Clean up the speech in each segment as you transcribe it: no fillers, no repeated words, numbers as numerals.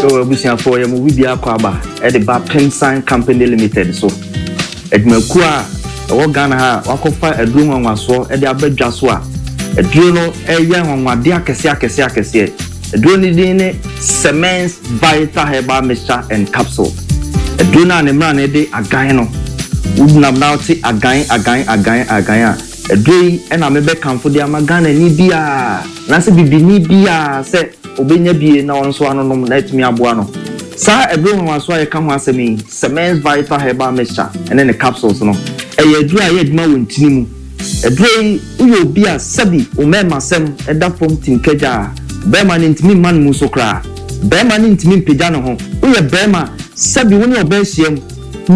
Yo abusuafoɔ yɛ mo bibia akɔ aba de ba Pemsan Company Limited so. Adwumakuo a ɛwɔ Ghana ha a wakɔfa aduro nwanwasoɔ de aba dwa so a aduro no ɛyɛ anwanwadeɛ akɛseɛ akɛseɛ akɛseɛ. Aduro no din ne Semens Vital Herbal Mixture and Capsule. Aduro no a ne mmara no de agan no, wonam na wote agan agan agan agan a, aduro yi na mebɛkamfo de ama Ghanani biara anaasɛ bibini biara sɛ ɔbɛnya bie na ɔno nso anonom na atumi aboa no. Saa aduro nwanwasoɔ a yɛka ho asɛm yi, Semens Vital Herbal Mixture ne ne capsules no, ɛyɛ aduro a ɛyɛ adwuma wɔ ntini mu. Aduro yi, woyɛ obi a sɛbi wo mmarimasɛm da fam timkagya a, barima no ntumi mma ne mu so koraa. Barima no ntumi mpagya ne ho. Woyɛ barima, sɛbi wo ne ɔbaa hyiam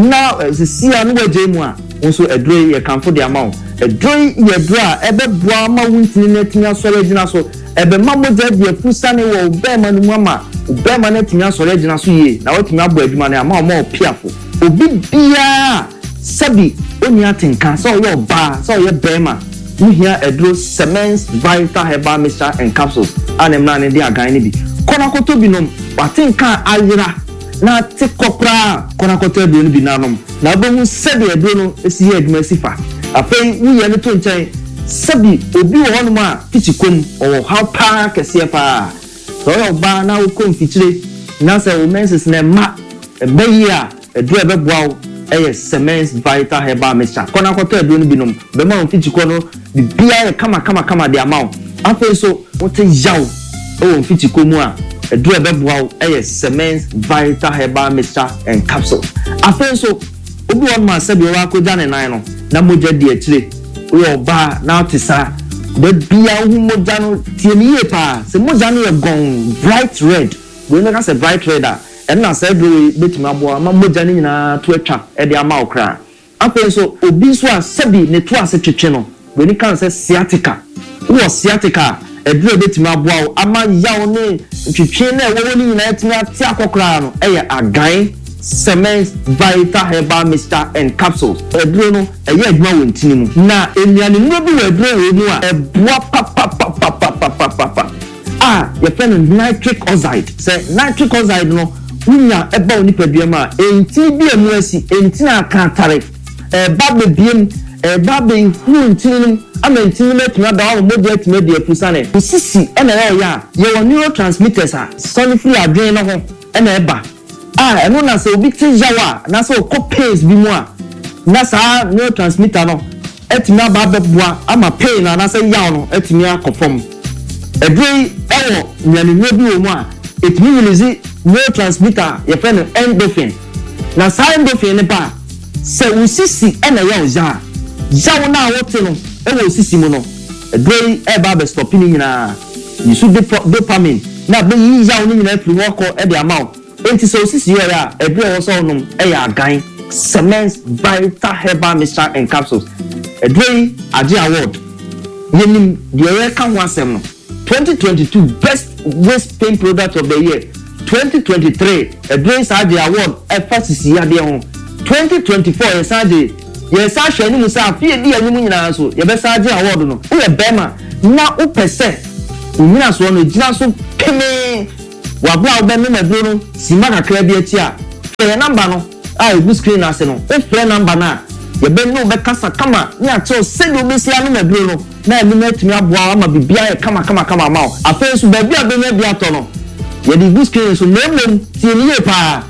na seesei a na woagyae mu a, wo nso aduro yi yɛkamfo de ama wo. Aduro yi yɛ aduro a ɛbɛboa ama wo ntini no atumi asɔre agyina so. Ɛbɛma mogya adi afusane wɔ wo barima no mu ama wo barima no atumi asɔre agyina so yie na watumi abɔ adwuma no ama wo ɔpiafo. Obi biara a sɛbi ɔnni atenka, sɛ ɔyɛ ɔbaa, sɛ ɔyɛ barima, wohia aduro Semens Vital Herbal Mixture and Capsules a ne mmara no de agan no bi. Kɔ na kɔtɔ bi nom. W'atenka a ayera na ate kɔ koraa a, kɔ na kɔtɔ aduro no bi na nom, na wobɛhu sɛdeɛ aduro no si yɛ adwuma si fa. Afei woyɛ no to nkyɛn. Sɛbi obi wɔ hɔnom a tikyi kɔm, ɔwɔ ɔhaw paa kɛseɛ paa. Sɛ woyɛ ɔbaa na wokɔ mfikyire na sɛ wo menses no mma, ɛmma yie a, aduro a ɛbɛboa wo yɛ Semens Vital Herbal Mixture. Kɔ na kɔtɔ aduro no bi nom. Ɛbɛma wo mfikyikɔ no biribiara ayɛ kamakamakama de ama wo. Afei nso, wote yaw wɔ mfikyikɔ mu a, aduro a ɛbɛboa wo yɛ Semens Vital Herbal Mixture and Capsules. Afei nso, obi wɔ hɔnom a sɛdeɛ wakɔgya ne nan no, na mogya di akyire. Woyɛ ɔbaa na wote saa, da biara wohu mogya no, tie me yie paa, sɛ mogya no yɛ gɔnn, bright red, wei mɛka sɛ bright red a, ɛno na saa aduro wei bɛtumi aboa ama mogya no nyinaa to atwa de ama wo koraa. Afei nso, obi nso a sɛbi ne to ase twetwe no, wei ka no sɛ sciatica. Wowɔ sciatica a, aduro a ɛbɛtumi aboa wo ama yaw ne ntwetwe no a ɛwɔ hɔ no nyinaa atumi ate akɔ koraa no yɛ Agan Semens Vital Herbal Mixture and Capsules. Aduro no, ɛyɛ adwuma wɔ ntini mu. Na nnuanennuro bi wɔ aduro wei mu a ɛboa papapapapapapapa a yɛfrɛ no nitric oxide. Sɛ nitric oxide no wonya ba wo nipadua mu a, ntini bi a emu asi, ntini a aka atare, ɛreba abɛbue mu, ɛreba abɛhuru ntini no mu ama ntini no mu atumi ada hɔ ama mogya atumi adi afusane. Wo sisi na ɛyɛ ɔya a, yɛwɔ neurotransmitters a sane firi adwene no ho na ɛba a ɛno na sɛ obi te yaw a anaasɛ ɔkɔ pains bi mu a na saa neurotransmitter no atumi aba abɛboa ama pain no anaasɛ yaw no atumi akɔ fam. Aduro yi wɔ nnuanennuro bi wɔ mu a ɛtumi release neurotransmitter a yɛfrɛ no endorphin. Na saa endorphin no ba a, sɛ wo sisi na ɛyɛ wo ya a, yaw no a wote no wɔ wo sisi mu no, aduro yi reba abɛstɔpe ne nyinaa. Yi so dopamine na abɛyi yaw no nyinaa afiri hɔ akɔ de ama wo. Enti sɛ wo sisi yɛ ɔya a, aduru a ɛwɔ sɛ wonom yɛ Agan Semens Vital Herbal Mixture and Capsules. Aduro yi agye award. Yɛnim deɛ yɛreka ho asɛm no. 2022 Best Waist Pain Product of the Year, 2023 aduro yi san gyee award ɛfa sisi yadeɛ ho. 2024 yɛsan gyee. Yɛresan ahwɛ anim sɛ afe a edi anim nyinaa nso, yɛbɛsan agye awɔɔdo no. Woyɛ barima na wopɛ sɛ wo nnyinasoɔ no gyina so pemee wɔ berɛ a wobɛnom aduro no simma kakra bi akyi a, frɛ yɛn namba no a ɛgu screen no ase no. Wofrɛ namba no a, yɛbɛne wo bɛkasa kama ne akyerɛ wo sɛdeɛ wobɛsi anom aduro no na ɛno no atumi aboa wo ama biribiara ayɛ kamakamakama ama wo. Afei nso, baabi a wobɛnya bi atɔ no, yɛde regu screen no so, na mmom tie no yie pa ara.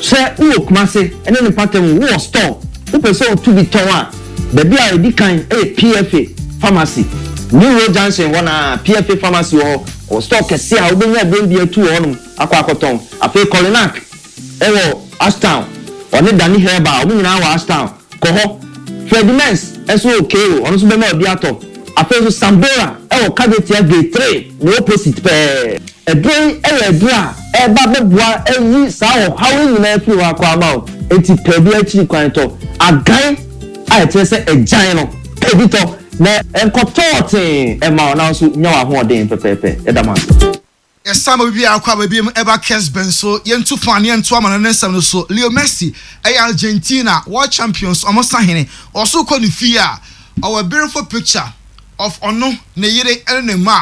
Sɛ wowɔ Kumase ne ne mpɔtam, wowɔ store, wopɛ sɛ wotu bi tɔn a, baabi a ɛdi kan yɛ PFA Pharmacy. New Road Junction hɔ no ara, PFA Pharmacy wɔ hɔ. Wɔwɔ store kɛseɛ a wobɛnya aduro bi atu wɔ hɔnom akɔ akɔtɔn. Afei Kolinak wɔ Ashtown, ɔne Danny Herbal, wɔn nyinaa wɔ Ashtown. Kɔ hɔ. Freddie Mens nso wɔ Cairo, ɔno nso bɛma obi atɔ. Afei nso Sambora wɔ Kajetia Gate 3 ne opposite pɛɛ. Aduro yi yɛ aduro a ɛreba abɛboa ayi saa ɔhaw yi nyinaa afiri hɔ akɔ ama wo. Enti pɛ bi akyiri kwan tɔ. Agan a ɛkyerɛ sɛ agyan no, pɛ bi tɔ na ɛnkɔtɔɔ tee mma wo na wo nso nya w'ahoɔden pɛpɛɛpɛ. Yɛda mo ase. Yɛsan ma biribi akɔ aba biom ɛba Kesben so, yɛntu fa ne yɛnto amana ne nsɛm no so. Leo Messi ɛyɛ Argentina world champions ɔmo sahene. Ɔso kɔ ne fie a, ɔwɔ beautiful picture of ɔno, ne yere ɛne ne mma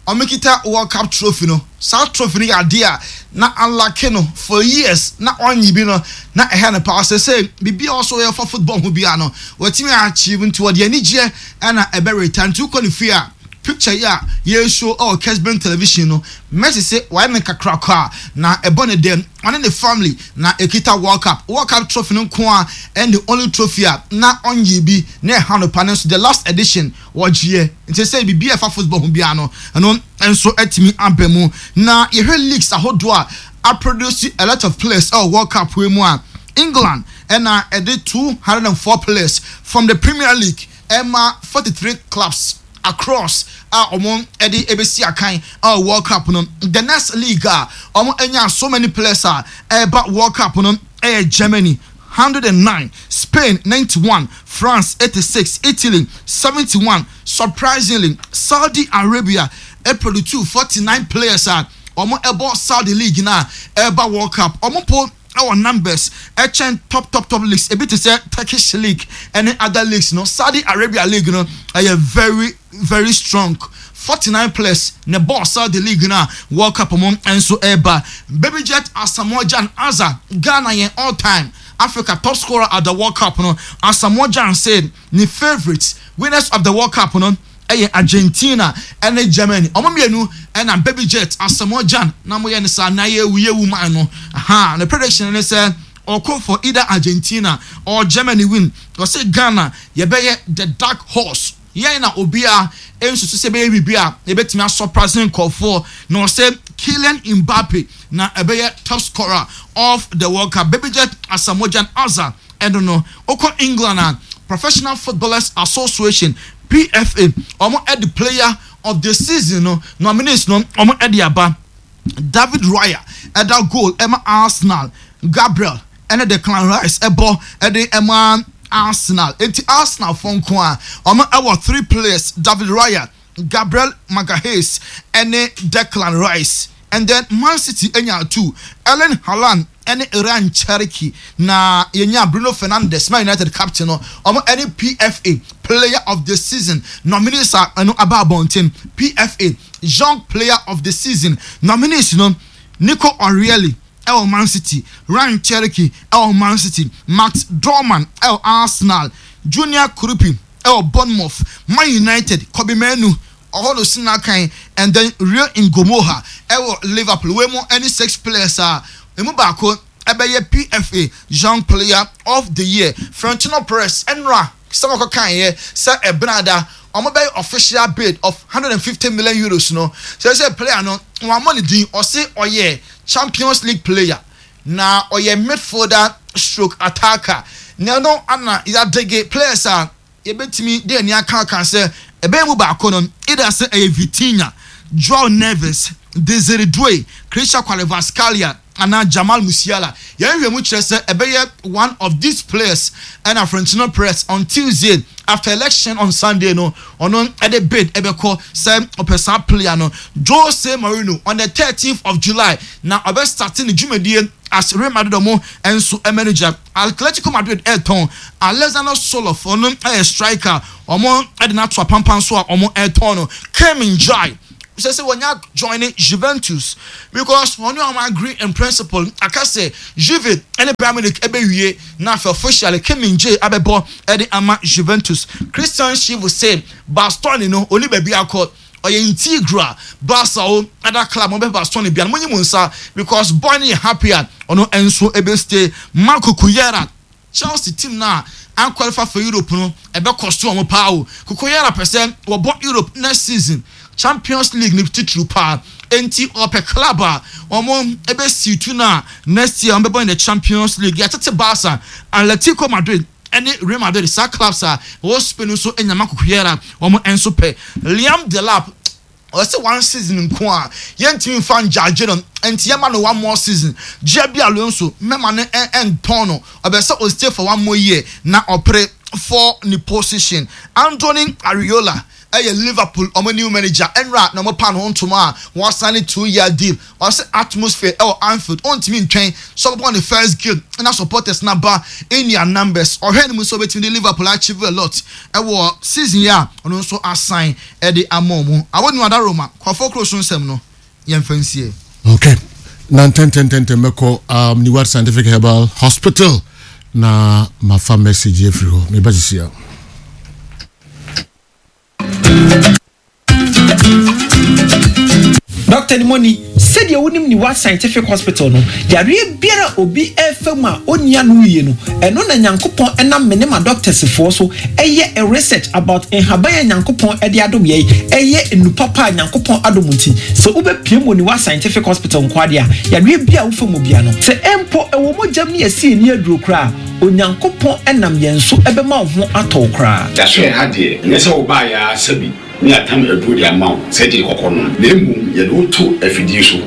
a ɔmo kita world cup trophy no. Saa trophy no yɛ adeɛ a na alake no for years na ɔnye bi no na ɛhɛ no paa. Ɔsɛ sɛ biribi a ɔsɔ yɛ fa football ho biara no watumi achieve, nti wɔde anigyeɛ ɛna ɛbɛ retire. Nti wokɔ ne fie a, picture yi a yɛreshow ɛwɔ Kesben Television no, Messi se wayɛ no kakraka a na ɛbɔ ne dɛm. Ɔne ne family na ɛkita World Cup. World Cup trophy no nko ara ɛne the only trophy a na ɔnyee bi na ɛha no paa, nanso the last edition wɔgyeɛ. Nti sɛ biribi a ɛfa football ho biara no, ɛno nso atumi aba mu. Na yɛhwɛ leagues ahodoɔ a aproduce a lot of players ɛwɔ World Cup wei mu a, England ɛna ɛde 204 players from the Premier League ɛma 43 clubs across a wɔn ɛde ɛbɛsi akan ɛwɔ World Cup no. The next league a wɔn anya so many players a ɛreba World Cup no ɛyɛ Germany 109, Spain 91, France 86, Italy 71. Surprisingly, Saudi Arabia ɛproduce 49 players a wɔn ɛbɔ Saudi league na ɛreba World Cup. Wɔn po ɛwɔ numbers ɛkyɛn top top top leagues ebi te sɛ Turkish league ɛne other leagues no. Saudi Arabia league no ɛyɛ very very strong. 49 players ne bɔɔ Saudi league no a World Cup mu nso ɛreba. Baby Jet Asamoah Gyan Azar, Ghana yɛn all time Africa top scorer at the World Cup no, Asamoah Gyan said ne favourite winners of the World Cup no ɛyɛ Argentina ɛne Germany. Ɔmo mmienu ɛna Baby Jet Asamoah Gyan na mo yɛ ne saa na yɛwu yɛwu man no. Aha ne prediction ne sɛ ɔkɔ for either Argentina or Germany win. Ɔsɛ Ghana yɛbɛyɛ the dark horse. Yɛn na obiara nsusu sɛ ɛbɛyɛ biribi a yɛbɛtumi asɔprase nkurɔfoɔ, na ɔsɛ Kylian Mbappe na ɛbɛyɛ top scorer of the World Cup. Baby Jet Asamoah Gyan Azar ɛno no. Wokɔ England a, Professional Footballers Association, PFA, wɔn ɛde player of the season no nominees no wɔn ɛde aba. David Raya ɛda goal ɛma Arsenal, Gabriel ɛne Declan Rice ɛbɔ ɛde ɛma Arsenal. Enti Arsenal fo nko a wɔn ɛwɔ three players, David Raya, Gabriel Magalhaes ɛne Declan Rice. And then Man City enya two, Erling Haaland ɛne Rayan Cherki, na yɛnya Bruno Fernandes, Man United captain no. Wɔn ɛne PFA Player of the Season nominees a ɛno aba abɔnten. PFA Young Player of the Season nominees no, Nico O'Reilly ɛwɔ Man City, Rayan Cherki ɛwɔ Man City, Max Dowman ɛwɔ Arsenal, Junior Kroupi ɛwɔ Bournemouth, Man United, Kobbie Mainoo ɔhɔ no si n'akan, and then Rio Ngumoha ɛwɔ Liverpool. Wei mu ɛne six players a emu baako ɛbɛyɛ PFA Young Player of the Year. Florentino Perez ɛnora sɛ wɔkɔ kan yɛ sɛ ɛbenada wɔn bɛyɛ official bid of €150 million no, sɛ player no wɔn amɔ ne din, ɔse ɔyɛ Champions League player na ɔyɛ midfielder stroke attacker, na ɛno ana yɛadege players a yɛbɛtumi de ani aka aka sɛ ɛbɛyɛ mu baako no, either sɛ ɛyɛ Vitinha, Joao Neves, Desire Doue, Khvicha Kvaratskhelia anaa Jamal Musiala. Yɛn hwɛ mu kyerɛ sɛ ɛbɛyɛ one of these players ɛna Florentino Perez on Tuesday after election on Sunday no ɔno ɛde bid ɛbɛkɔ sɛ ɔpɛ saa player no. Jose Mourinho on the 13th of July na ɔbɛ start ne dwumadie as Real Madrid ɔmo nso manager. Atletico Madrid ɛretɔn Alexander Sorloth, ɔno ɛyɛ striker, ɔmo ɛde no ato apampan so a ɔmo ɛretɔn no. Kim Min-jae sɛ wɔnya join Juventus because wɔne ɔmo agree in principle, aka sɛ Juve ɛne Bayern Munich ɛbɛwie na afei officially Kim Min-jae abɛbɔ ɛde ama Juventus. Christian Chivu sɛ Bastoni no oni baabi akɔ, ɔyɛ integral Barca o other club mo bɛ Bastoni bia no mo nyi mo nsa because boy no yɛ happy a ɔno nso ebe stay. Marco Cullera, Chelsea team na anqualify for Europe no ɛbɛkɔ so ɔmo paa o. Cucurella pɛ sɛ wɔbɔ Europe next season, Champions League ne titiriw paa, enti ɔpɛ club a wɔn ɛbɛsi tu na next year wɔn bɛbɔ in the Champions League. Yɛatete Barca, Atletico Madrid ɛne Real Madrid, saa clubs a wɔwɔ Spain nso anya Marco Cullera, wɔn nso pɛ. Liam Delap, ɔsɛ one season nko a yɛntumi nfa ngyagye no, nti yɛma no one more season. Xabi Alonso mɛma no ɛntɔn no, ɔbɛ sɛ ɔstay for one more year na ɔpere for ne position. Andoni Areola ɛyɛ Liverpool ɔmo new manager, ɛnra na ɔmo pa ne ho ntoma a wɔasan ne 2-year deal. Ɔsɛ atmosphere ɛwɔ Anfield ɔntumi ntwɛn sɛ ɔbɛbɔ ne first game na supporters na ba in their numbers. Ɔhwɛ ne mu sɛ ɔbɛtumi de Liverpool achieve a lot ɛwɔ season yi a ɔno nso asan ɛde ama ɔmo. Awɔ nu Adaroma kɔfɔ kuro so nsɛm no yɛmfa nsie. Okay. Na ntɛntɛntɛntɛm mɛkɔ um, Neward Scientific Herbal Hospital na mafa message afiri hɔ. Meba sisi a. Dɔkta Nimoni, sɛdeɛ wonim Niwa Scientific Hospital no, yareɛ biara a obi refa mu a ɔnni ano yie no, ɛno na Nyankopɔn nam me ne m'adɔktɛsfoɔ so yɛ research about nhaban a Nyankopɔn de adom yɛn, ɛyɛ nnu papa a Nyankopɔn adom nti, sɛ wobɛpue mu wɔ Niwa Scientific Hospital nko ara deɛ a, yareɛ biara a wofa mu biara no, sɛ mpo ɛwɔ mogya mu ne yɛasi ani aduro koraa a, Onyankopɔn nam yɛn so bɛma wo ho atɔ wo koraa. Yɛaso yɛn ha deɛ, ɛnyɛ sɛ wobaeɛ ara sɛbi ne yɛatam aduro de ama wo sɛ gye kɔkɔ nom, na mmom yɛde wo to afidie so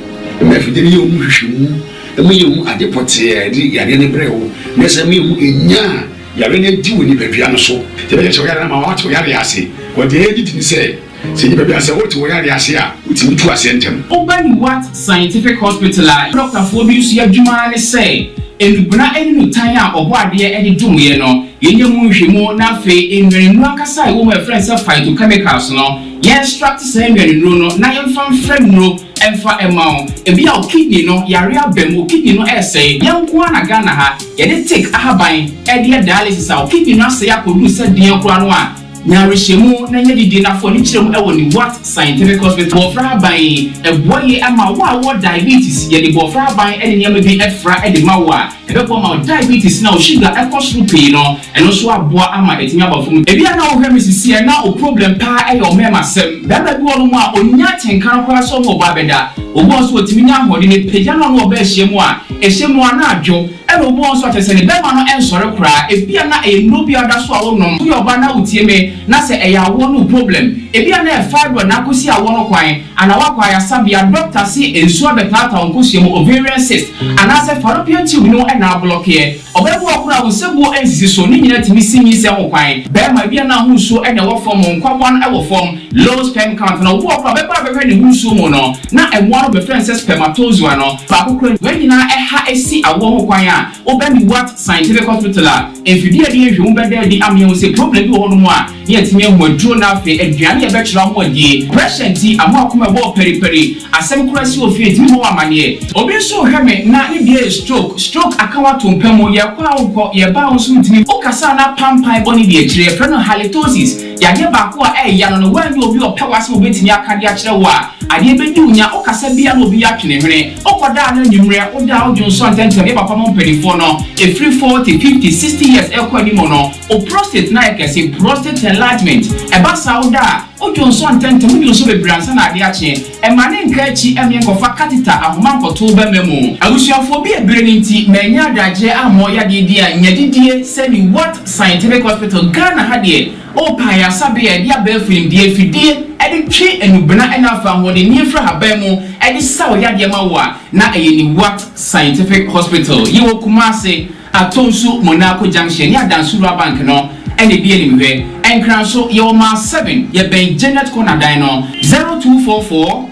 ma afidie no yɛ wo mu nhwehwɛmu ma yɛhu ade pɔtee a ɛde yareɛ no brɛɛ wo, na ɛsɛ ma yɛhu nya a yareɛ no adi wɔ nipadua no so. Yɛbɛkyerɛkyerɛ wo yareɛ no ama woate wo yareɛ ase. Wɔ deɛ yɛgye di ne sɛ, Sɛ nnipa bi a sɛ wote wo yareɛ ase a, wotumi tu aseɛ ntɛm. Woba Niwat Scientific Hospital a, dɔktafoɔ bi nso adwuma ara ne sɛ nnubena ne nnutan a Ɔbɔadeɛ de dom yɛn no, yɛnyɛ mu nhwehwɛmu na afei nnuanennuro ankasa a ɛwɔ mu a yɛfrɛ no sɛ phytochemicals no, yɛn extract saa nnuanennuro no na yɛmfa mfra nnuro mfa mma wo. Ebia wo kidney no yareɛ aba mu, wo kidney no resɛe. Yɛn nko ara na Ghana ha yɛde tik ahaban de yɛ dialysis a wo kidney no asɛe akɔduru sɛ deɛn koraa no a, Nya awerɛhyɛmu na nya gyidie na fa w'ani kyerɛ mu wɔ Newat Scientific Hospital. Bɔɔfra haban yi, ɛboa yie ama wo a wowɔ diabetes. Yɛde bɔɔfra haban ne nneɛma bi fra de ma wo a, ɛbɛboa ma wo diabetes na wo sugar kɔ soro pii no, ɛno nso aboa ama atumi aba fam. Ebia na wohwɛ me sisi a na wo problem paa yɛ ɔmɛɛmasɛm. Barima bi wɔ nom a ɔnnya atenka no koraa sɛ ɔne ɔbaa bɛda. Obi wɔ hɔ nso ɔtumi nya ahoɔden, ɛpagya no a ɔne ɔbaa hyia mu a, ɛhyɛ mu a na adwo. Ɛna obi wɔ hɔ nso a kyerɛ sɛ ne bɛrima no nsɔre koraa, ebia na ɛyɛ nnuro bi a ɔda so a wonom. Woyɛ ɔbaa na wotie me na sɛ ɛyɛ awoɔ no wo problem, ebia na ɛyɛ fibroid na akɔsi awoɔ no kwan, anaa woakɔ ayasabea, doctor se nsuo abɛtaataa wo nkosua mu, ovarian cyst, anaasɛ fallopian tube no na ablɔkeɛ. Ɔbaa bi wɔ hɔ koraa a wo nsabuo nsisi so, ne nyinaa tumi si nyinsɛn ho kwan. Bɛrima, ebia na ho nsuo na ɛwɔ fam, wo nkwaboa no wɔ fam, Low sperm count no, obi wɔ hɔ koraa a ɔbɛba abɛhwɛ ne ho nsuo mu no, na mmoa no bɛfrɛ no sɛ spermatozoa no, baako koraa nni. Wei nyinaa ɛha si awoɔ ho kwan a, wobɛ Newat Scientific Hospital a, mfidie a yɛde yɛ nhwehwɛmu bɛda adi ama yɛahu sɛ problem bi wɔ hɔnom a, na yɛatumi ahu aduro na afei aduane a yɛbɛkyerɛ wo ho adie. Pressure nti, ama w'akoma ɛbɔ wo paripari, asɛm koraa si wɔ fie ntumi mmɔ wo amaneɛ. Obi nso rehwɛ me na ne deɛ yɛ stroke, stroke aka wo ato mpa mu, yɛkɔ a wonkɔ, yɛba a wo nso wontumi. Wokasa a na pampan bɔ ne deɛ akyire, yɛfrɛ no halitosis. Yadeɛ baako a ɛyɛ ya no no, woannya obi a ɔpɛ w'asɛm a ɔbɛtumi aka de akyerɛ wo a, adeɛ bɛdi wo nya. Wokasa biara na obi atwe ne hwene. Wokɔda a na anwummerɛ, woda a wodwo nsɔ ntɛmntɛm. Yɛ papa mo mpanimfoɔ no, ɛfiri 40, 50, 60 years rekɔ anim no, wo prostate no ayɛ kɛse, prostate enlargement. Ɛba saa a, woda a, wodwo nsɔ ntɛmntɛm, wodwo nsɔ bebree ansa na adeɛ akye. Ɛmma ne nka akyi mmea nkɔfa catheter ahoma nkɔto wo bɛmma mu. Abusuafoɔ bi a bere no nti mannya adagyeɛ ammɔ yadeɛ bi a nya gyidie sɛ ne What Scientific Hospital Ghana ha deɛ ɔɔpɛ ayarsabea a yɛde abɛɛfo nimdeɛ afidie de twe anubena ɛna afa ahoɔdenneɛ firi ahaban mu de sa wo yadeɛ ma wo a na ɛyɛ ne What Scientific Hospital. Yɛwɔ Kumasi. Atonsu, Monaco Junction ne Adansi Rural Bank no na edi animhwɛ. Nkran nso, yɛwɔ Mile 7, yɛbɛn Janet Corner dan no. 0244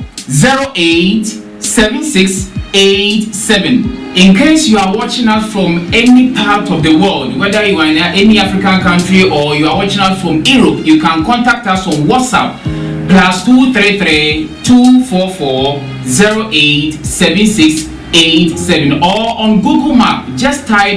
08 76 87. In case you are watching us from any part of the world, whether you are in any African country or you are watching us from Europe, you can contact us on WhatsApp +233 244 08 76 87 or on Google Map, just type.